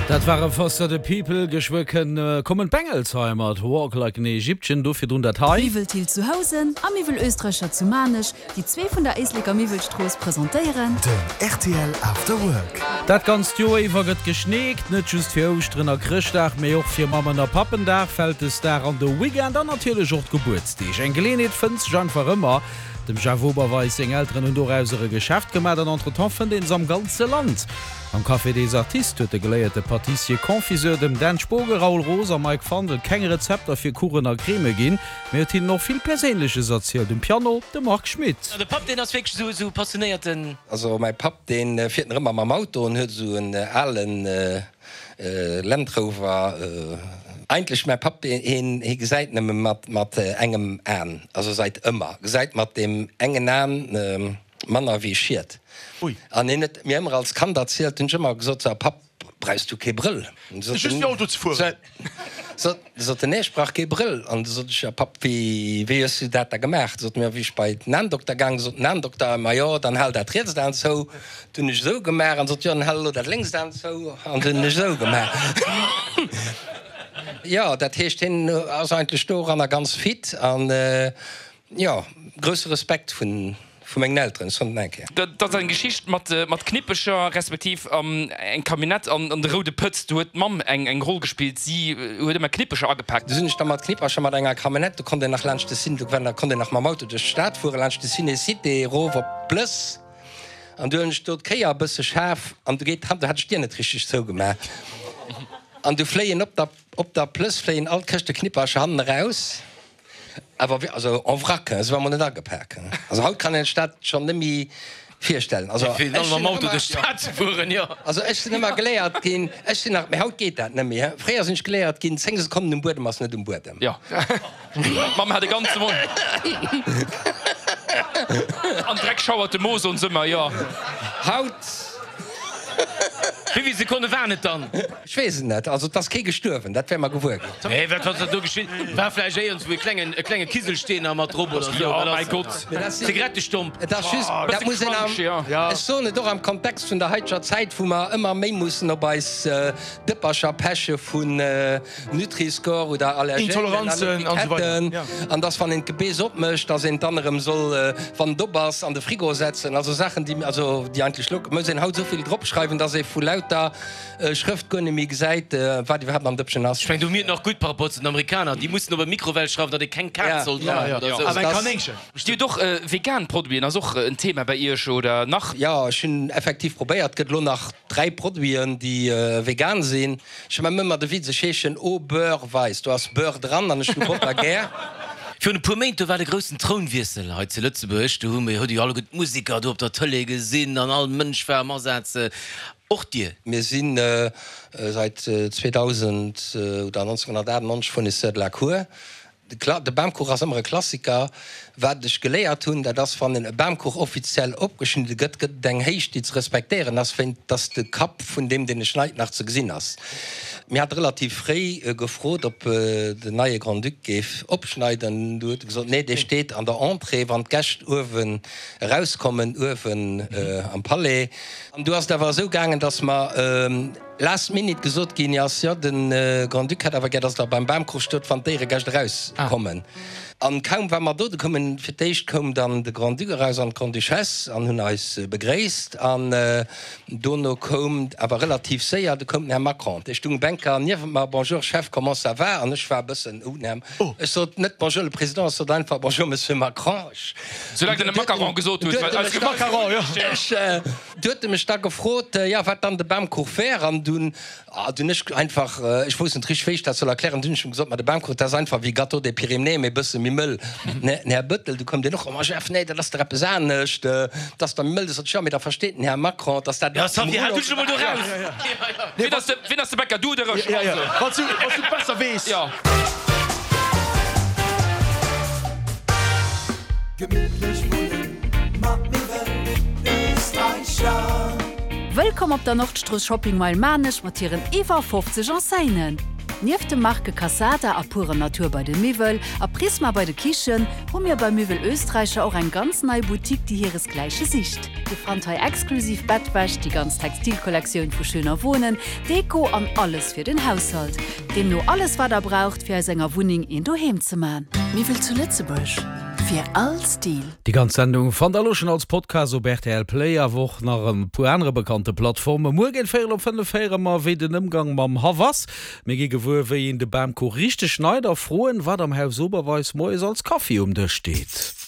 Dat ware Foster the People. Geschwë kommen d'Bengels hei mat Walk Like an Egyptian. Do virdrun dat hei. Miwwel Thill zu Housen a Miwwel Oesträicher zu Maarnech, déi zwee vun der Éisleker Miwwelstrooss, presentéieren. Den rtl After Work. Dat ganzt Joer iwwer gëtt geschneekt, net just fir Ouschteren a Chrëschtdag, mee och fir Mammen a Pappendag, Vältesdag an de Weekend an natierlech och d'Gebuertsdeeg. Eng Geleeënheet fënnt sech einfach ëmmer. Dem Jeff Oberweis seng Elteren hunn dorauser e Geschäft gemaat an entretemps fënnt een se am ganze Land. Am Café des Artistes huet de geléierte Pâtissier-Confiseur dem Dan Spogen, Raoul Roos a Mike Fandel keng Rezepter fir Kuchen a Creme ginn, mee huet hinnen och vill Perséinleches erzielt. Um Piano de Marc Schmitt. De Papp deen ass wierklech esou passionéierten. Also mäi Papp deen fiert nach ëmmer mam Auto en huet esou en alen Land Rover. Eigentlech mäi Papp heen hee gesäit nëmme mat mat engem Aan, also seit ëmmer gesäit mat deem engen Aan manner wéi Schied. An hien huet mir ëmmer als Kand erzielt, hunn ech ëmmer gesot, so Papp brauchs du kee Brëll? Just fir Auto ze fueren. Sot en, nee, ech brauch kee Brëll. An du sot ech, jo Papp, wéi, wéi hues du dat da gemaach? Sot en, jo, wéi ech bei den Aendokter gaang, sot den Aendokter, ma jo, dann hal dat rietst Aen zou. Du hunn ech esou gemaach. An sot, jo, dann hal elo dat lénkst Aen zou. An du hunn ech esou gemaach. Jo, dat heescht, hien ass eigentlech doranner ganz fit. An jo, grousse Respekt vun. Vu mengen Elteren, ech soen et nach eng Kéier. Dat ass eng Geschicht mat Knippecher, respektiv eng Camionnette an de roude Pëtz. Do huet d'Mamm eng Roll gespillt. Si huet ëmmer Knippecher agepaakt. Du sinn ech da mat Knippercher mat enger Camionnette, do konnt een nach laanscht de Cine, do konnt een nach mam Auto duerch d'Stad fueren, laanscht de Ciné Cité erof op d'Plëss. An du hunn ech do d'Kéier e bësse schaarf an du geet d'Hand, do hat ech d'Dier net richteg zougemaach an du fléien op der op der Plëss fléien all d'Këschte Knippercher hannen eraus. Awer wéi, also en vrac, se war mol net agepak. Also haut kann een sech dat schonn net méi virstellen. Also Fir dann mam Auto duerch d'Stad ze fueren, jo. Also ech sinn ëmmer geléiert ginn, ech sinn nach, mee haut geet dat net méi, he, fréier sinn ech geléiert ginn, 10 Sekonnen um Buedem ass net um Buedem. Jo, d'Mamm hat e ganze Mond. An Dreck schauert de Mo, soen se ëmmer, jo. Haut. Wéi vill Sekonne waren et dann? Ech weess et net. Also et ass kee gestuerwen, dat wäre mer gewuer ginn. Nee, wat ass do geschitt? War vläicht éierens wou e klengen, e klenge Kiselsteen a mat drop oder sou. Jo, mäi Gott, Zigarettestomp. Et ass just, dat muss een am, ech soen et och am Kontext vun der haiteger Zäit, wou mer ëmmer méi mussen op eis Dëppercher peche vun Nutri-Score oder Allergènen an Etiketten, an dass wann een d'Gebeess opmécht, dass een et dann erëm soll, wann et op ass, an de Frigo setzen. Also Saachen, déi, also déi eigentlech lo, muss een haut esou vill dropschreiwen, dass ee vu lauter Schrëft guer net méi gesäit, wat iwwerhaapt am Dëppchen ass. Ech mengen, do mir et nach gutt par rapport zu den Amerikaner, déi mussen op e Mikrowell schreiwen, datt ee keng Kaz soll dran hunn oder esou. Awer eng Kanéngchen. Dir hutt och vegan Produiten, ass och en Thema bei Iech oder nach? Jo, ech hunn effektiv probéiert, gëtt elo nach 3 Produiten, déi vegan sinn. Ech hu ëmmer de Witz, ech heeschen Au Beurre Weis, do ass Beurre dran an ech hu Botter gär. Virun e puer Méint, do war de groussen Trounwiessel hei zu Lëtzebuerg. Do hu mir, hutt Dir jo alleguer d'Museker do op der Tëlee gesinn an all Mënsch war am Asaz. Och Dir. Mir si seit 2000 oder 1998 Fournisseur de la Cour. De Bamkuch ass ëmmer e Klassiker. Wat ech geléiert hunn, dat ass, wann e Bamkuch offiziell opgeschnidde gëtt, gëtt et eng Héicht, déi ze respektéieren ass, wéint dass de Kapp vun deem, deen e schneit, nach ze gesinn ass. Mir hate relativ fréi gefrot, ob den neie Grand-Duc géif opschneiden. Du huet e gesot, nee, dee steet an der Entrée, wann d'Gäscht uewen erauskommen, uewen am Palais. An du ass et awer esou gaangen, dass mer last minute gesot ginn ass, jo, de Grand-Duc hätt awer gär, dass Der beim Bamkrug stot, wann d'Éieregäscht erauskommen. An kaum war mer do, du koumen, fir d'éischt koum dann de Grand-Duc eraus an d'Grande-Duchesse an hunn eis begréisst. An dono koum awer relativ séier, du koum den Här Macron. Dee stung Bänker niewent mer, Bonjour Chef, comment ça va? An ech war e bëssen, oh, den Här, ech sot net Bonjour le Président, ech sot einfach Bonjour Monsieur Macron. Ech. Soulaang de net Macaron gesot hues, well eis Macaron, jo. Du huet e mech da gefrot, jo, wat dann de Bamkuch wär. An dunn, ah, dunn ech einfach, ech wousst net richteg, wéi ech dat soll erklären, dunn hunn ech em gesot, ma de Bamkuch, dat ass einfach wéi Gâteau des Pyrénées, mee e bësse méi mëll. Den Här Bettel, du koum deen och, ma Jeff, nee, dat ass dach eppes anescht, dat ass da méi mëll. Du sot ech, jo, mee da versteet den Här Macron, dass dat. Jo, Xavier, hal du dech emol do raus. Wien ass de, wien ass de Bäcker, du oder ech? Also. Wann s du, wann s du et besser weess. Jo. Gemittlech wunnen mat Miwwel Österreicher. Wëllkomm op der Nordstrooss Shopping Mile Maarnech mat hiren iwwer 50 Enseignen. Nieft de Marke Cassata a Pure Natur bei de Miwwel a Prisma bei de Kichen, hu mir bei Miwwel Österreicher och eng ganz nei Boutique, déi hiresgläiche sicht. Dir fannt hei exklusiv Bettwäsch, déi ganz Textilkollektioun vu Schöner Wohnen, Deko an alles fir den Haushalt. Deemno alles wat der braucht fir aus enger Wunneng een Doheem ze man. Miwwel zu Lëtzebuerg, fir all Stil. Déi ganz Sendung fannt der elo schon als Podcast op rtl Play, awer och nach e puer anere bekannte Plattformen. Muer géint véierel op 5 héiere mer, wéi den Ëmgang mam Haff ass. Mir gi gewuer, wéi een de Bamkuch richteg schneit a froen, wat am Haus Oberweis moies als Kaffi um Dësch steet.